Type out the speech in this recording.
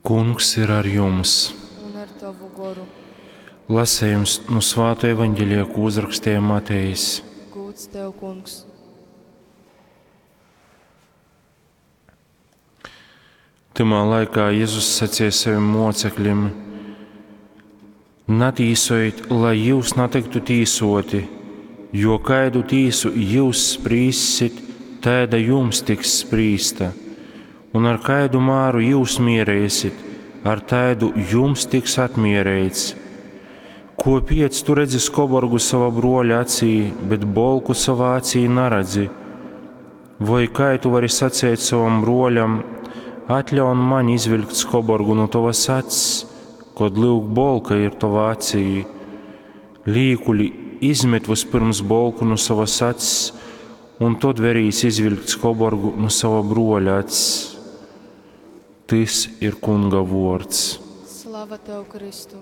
Kungs ir ar jums! Un ar tovu goru. Lasējums no Svāto evaņģelija, ko uzrakstīja Matejs. Gūds tev, kungs! Tymā laikā Jezus sacīja saviem mocekļiem: Natīsojit, lai jūs natyktu tīsoti, jo kaidu tīsu jūs sprīssit, taida jums tiks sprīsta. Un ar kaidu māru jūs mierēsit, ar taidu jums tiks atmierēts. Kopiec tu redzi skoborgu sava broļa acī, bet bolku savā acī neredzi? Vai kā tu vari sacēt savam broļam, atļaun man izvilkt skoborgu no tavas acs, kod lūk bolka ir tavā acī? Līkuļi izmet vispirms bolku no savas acs, un tad verīs izvilkt skoborgu no sava broļa acs. Tys ir Kunga vuords. Slava tev, Kristu!